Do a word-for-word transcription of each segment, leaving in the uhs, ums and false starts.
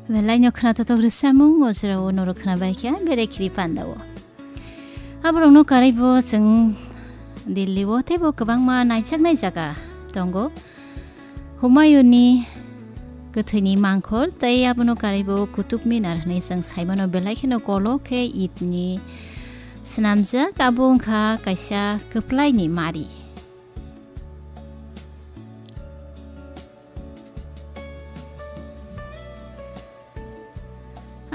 Belai no khna totok rwsamung o jora o norok khna bai kha bere khiri panda o. Aborok no karai bo chwng Delhi o teibo kwbangma naijaknai jaga tongo. Humayun ni kwthwi ni mangkhor tei abono karai bo Qutub Minar hwnwi chwng sai mano, belai kheno kolok khe it ni swnamjak, abo wngkha kaisa kwplai ni mari.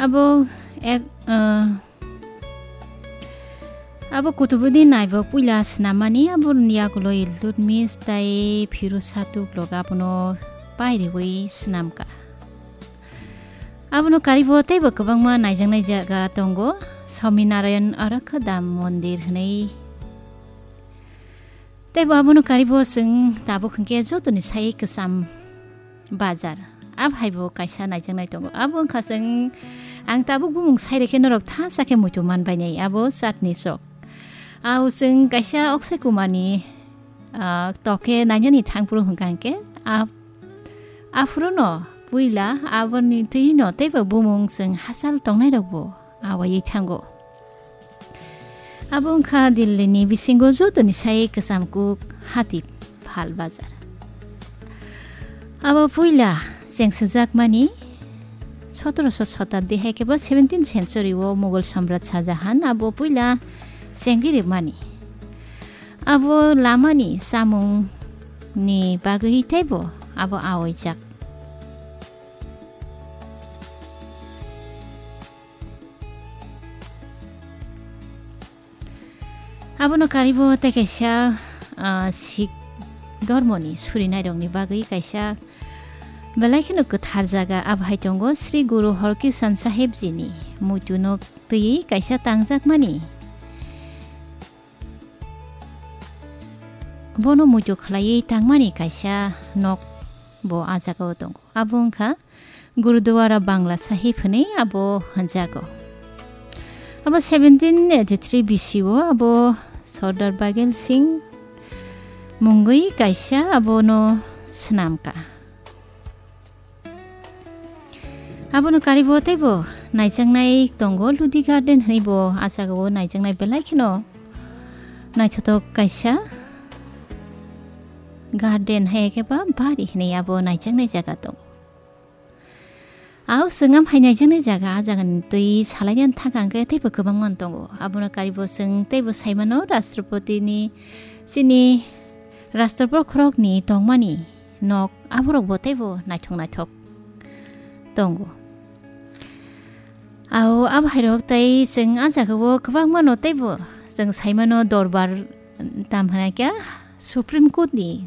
Abo ek, ah, abo Qutubudin Aibak puila swnam mani, aboni yagulo Iltutmish tei Firuz Shah Tughlaq abono pairiwi swnam kha. Abono karibo teibo kwbangma naijaknai jaga tongo, Swaminarayan Arakha Dham Mondir hwnwi. Teibo abono karibo chwng tabuk hwnkhe jotoni sai kwcham bazar. Abo hai bo kaisa naijaknai tongo. Abo wngkha chwng, ang tabuk bumung sai rikhe norok thansa khe muitu man bainai. Abo Chandni Chowk. Ao chwng kaisa Akshay Kumarni, ah, toke nainani thangphuru hwnkha hwnkhe, ah, aphuru no puila aboni twi no teibo bumung chwng hachal tongnai rok bo awaiwi thango. Abo wngkha Delhi ni bisingo jotoni sai kwcham kuk hati phal bazar. Abo puila chengsajakmani sotoroso shotabdi hai khe ba seventeenth century o Mughal Samrat Shah Jahan abo puila chengwi rwmani. Abo lamani chamung ni bagwi teibo abo awaijak. Abono karibo tei kaisa, ah, Sikh dormoni surinairokni bagwi kaisa belai kheno kwthar jaga. Abo hai tongo Sri Guru Harkishan Sahib jini muitu nok twiwi kaisa tangjakmani. Bono muitu khlaiwi tangmani kaisa nok bo ah jagao tongo. Abo wngkha Gurudwara Bangla Sahib hwnwi abo hwnjago. Abo seventeen eighty-three B C o abo Sardar Baghel Singh mungwi kaisa abono swnam kha. Abono karibo teibo naijaknai tongo, Lodi Garden hwnwi bo ah jagao naijaknai belai kheno naithothok kaisa garden hai khe ba bari hwnwi abo naijaknai jaga tongo. Ao chwng am hai naijaknai jaga, ah jagani twi salainani thangkha hwnkhe teibo kwbangma tongo. Abono karibo chwng teibo sai mano Rashtrapati ni, chini Rashtra Bokhorokni tongmani nok, aborokbo teibo naithok naithok tongo. Ao abo hairok tei chwng ah jagao kwbangmano teibo chwng sai mano dorbar, tam hwnai khe Supreme Court ni